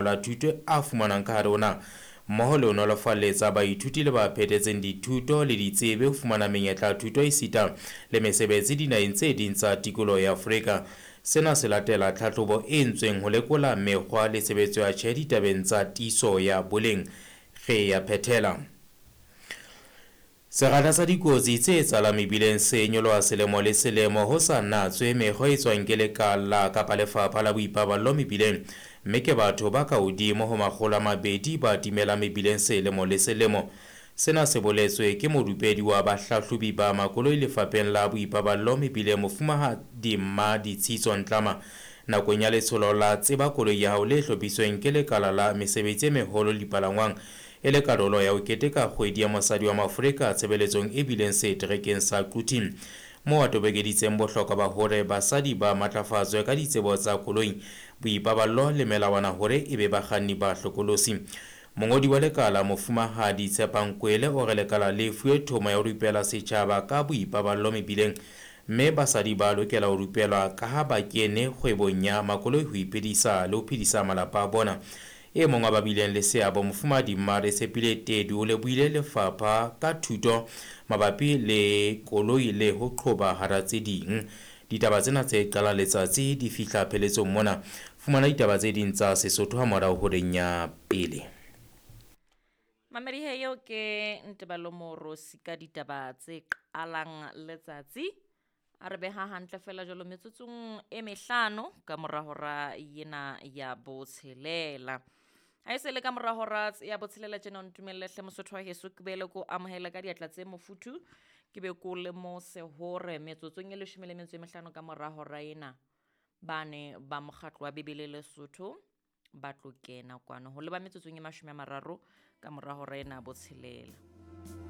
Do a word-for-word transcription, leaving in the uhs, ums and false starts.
La thuto a fumanwang ka hare ho naha mmoho le ho nolofaletsa baithuti le ba phethetseng dithuto le ditsebi ho fumana menyetla ya thuto esita le mesebetsi dinaheng tse ding tsa tikoloho ya Afrika. Sena se latela tlhahlobo e entsweng ho lekola mekgwa le tshebetso ya tjhe ditabeng tsa tiiso ya boleng. Re ya phethela. Sekgahla sa dikotsi tse etsahalang mebileng se nyoloha selemo le selemo ho sa natswe mekgwa e tswang ke lekala kapa lefapha la boipaballo mebileng, mme ke batho ba ka hodimo ho makgolo a mabedi ba timelang mebileng selemo le selemo. Sena se boletswe ke morupedi wa bahlahlobi ba makoloi lefapheng la boipaballo mebileng Mofumahadi Mmaditshitso Ntlama nakong ya letsholo la Tseba Koloi ya Hao le hlophisweng ke lekala la mesebetsi e meholo le dipalangwang e le karolo ya ho keteka kgwedi ya mosadi wa Maafrika tshebeletsong e bileng seterekeng sa Quthing, moo a tobokeditseng bohlokwa ba hore basadi ba matlafatswe ka ditsebo tsa koloi, boipaballo le melawana hore e be bakganni ba hlokolosi. Mongodi wa lekala Mofumahadi Tshepang Kwele o re lekala le fuwe thomo ya ho rupela setjhaba ka boipaballo mebileng, mme basadi ba lokela ho rupelwa ka ha ba kene kgwebong ya makoloi ho iphedisa le ho phedisa malapa a bona. E mong wa ba bileng le seabo Mofumahadi Mmare Tshepile Tedu o lebohile lefapha ka thuto mabapi le koloi le ho qhoba hara tse ding. Ditaba tsena tse qalang letsatsi di fihla pheletsong mona. Fumana ditaba tse ding tsa Sesotho ha morao horeng ya pele. Mamedi he eo ke Ntebalo Morosi ka ditaba tse qalang letsatsi. A re beha hantle fela jwalo metsotsong e mehlano ka mora hora ena ya botshelela. Ha e se le ka mora hora ya botshelela tjena o ntumelle hle Mosotho wa heso ke boele ko amohele ka diatla tse mofuthu. Ke be ko lemose hore metsotsong e leshome le metso e mehlano ka mora hora ena bane ba mokgatlo wa Bibele Lesotho ba tlo kena kwano ho leba metsotsong e mashome a mararo ka mora hora ena botshelela.